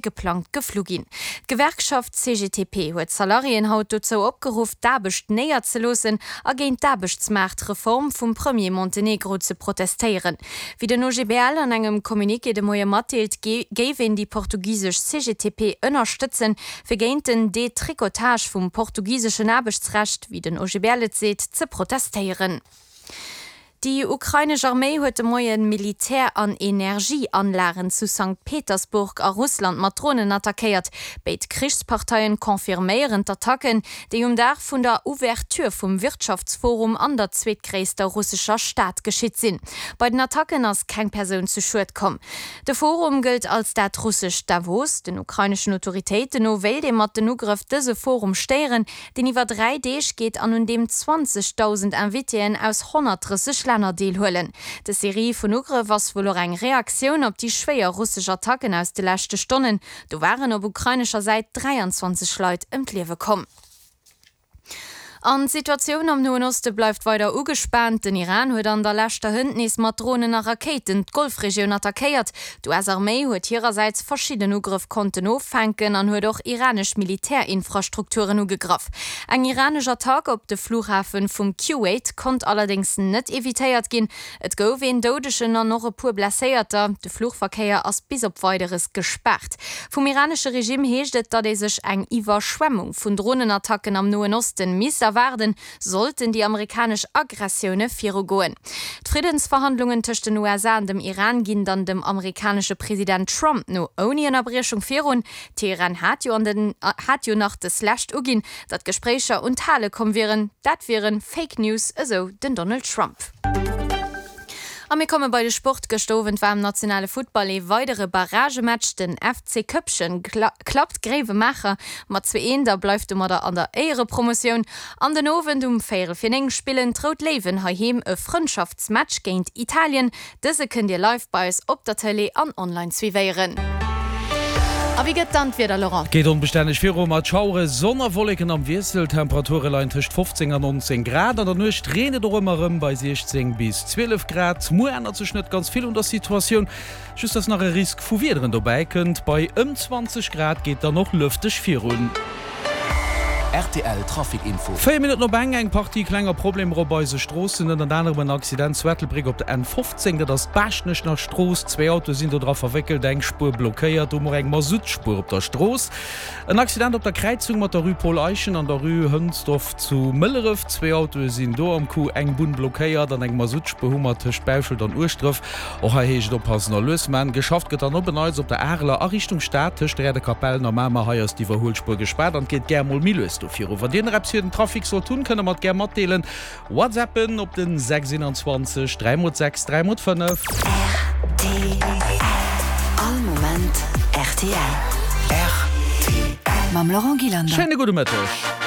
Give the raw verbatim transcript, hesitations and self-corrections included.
geplangt geflu ginn. D'Gewerkschaft C G T P huet d'Salariéen haut dozou opgeruff, d'Aarbecht néierzeloossen a géint d'Aarbechtsmaartreform vum Premier Montenegro ze protestéieren. Wéi den O G B L an engem Communiqué de Moie matdeelt, géif een déi portugisesch C G T P ënnerstëtzen, fir géint den Detricotage vum portugiseschen Aarbechtsrecht, wéi den O G B L et seet, ze protestéieren. Déi ukrainesch Arméi huet de Moien Militär an Energieanlagen zu Sankt Petersburg a Russland mat Dronen attackéiert. Béid Krichsparteien confirméieren d'Attacken, déi um Dag vun der Ouverture vum Wirtschaftsforum an der zweetgréisster russescher Stad geschitt sinn. Bei den Attacken ass keng Persoun zu Schued komm. De Forum gëllt als dat russescht Davos. Den ukraineschen Autoritéiten no wéilt ee mat den Ugrëff dëse Forum stéieren, deen iwwer dräi Deeg geet an un deem zwanzegdausend Invitéen aus honnertdrësseg Länner deelhuelen. Dës Serie vun Ugrëff ass wuel och eng Reaktioun op déi schwéier russesch Attacken aus de leschte Stonnen. Do waren op ukrainescher Säit dräianzwanzeg Leit ëm d'Liewe komm. An d'Situatioun am Noen Oste bleift weider ugespaant. Den Iran huet an der leschter Hënt nees mat Dronen a Rakéiten d'Golfregioun attackéiert. D'U S-Arméi huet hirersäits verschidden Ugrëff konnten offänken an huet och iranesch Militärinfrastrukturen ugegraff. Eng iranesch Attack op de Flughafe vum Kuwait konnt allerdéngs net evitéiert ginn. Et gouf een Doudegen an och e puer Blesséierter. De Fluchverkéier ass bis op Weideres gespaart. Vum iranesche Regime heescht et, datt ee sech eng Iwwerschwemmung vun Dronenattacken am Noen Osten misst erwaarden, sollten déi amerikanesch Aggressioune virugoen. D'Friddensverhandlungen tëscht den U S A an dem Iran ginn dann dem amerikanesche President Trump no ouni Ënnerbriechung virun. Teheran hat jo an den hat jo nach deslescht uginn, datt Gespréicher un d'Hale komm wieren. Dat wiere Fake News, esou den Donald Trump. A mir komme bei de Sport. Gëschter Owend war am nationale Futtball ee weidere Barragematch. Den F C Köppchen klappt Gréiwemaacher mat zwee eent a bleift domadder an der Éierepromotioun. An den Owend um véierel fir néng spillen d'Rout Léiwen heiheem e Frëndschaftsmatch géint Italien. Dëse kënnt Dir live bei eis op der Tëlee an online suivéieren. A wéi gëtt dann d'Wieder, Laurent? Geet onbestänneg viru mat Schauere, Sonn a Wolleken am Wiessel. Temperature leien tëscht fofzéng an nonzéng Grad. An der Nuecht reent et och ëmmer erëm bei siechzéng bis zwielef Grad. Muer ännert sech net ganz vill un der Situatioun, just dass nach e Risk vu Wiederen dobäi kënnt. Bei ëm zwanzeg Grad geet dann och lëfteg virun. R T L Trafic Info. Véier Minutten op eng, eng Partie klenger Problemer op eise Stroossen, ënnert anerem en Accident zu Ettelbréck op der N fofzéng, dat ass d'Baaschtnecher Strooss. Zwee Autoe sinn do dra verwéckelt, eng Spuer blockéiert, do mol eng Masuttspuer op der Strooss. En Accident op der Kräizung mat der Rue Paul Eyschen an der Rue Hënsdorf zu Mëlleref, zwee Autoe sinn do am Coup, eng Bunn blockéiert an eng Masuttspuer hu mer tëscht Bauschelt an Ueschdref. Och hei heescht et oppassen a lues man. Geschafft gëtt dann op en Neits op der Areler a Richtung Stad tëscht der Räerder Kapellen a Mamer. Hei ass d'Iwwerhuelspuer gespaart an et geet gär mol méi lues do viru. Wann Dir nach eppes fir den Trafic sollt hunn, kënnt der mer et gär matdeelen. WhatsAppen op den sechs einundzwanzeg dräi mol sechs dräi mol fënnef. R T L. All Moment R T L. R T L. Mam Laurent Gillander. Schéine gudde Mëtteg.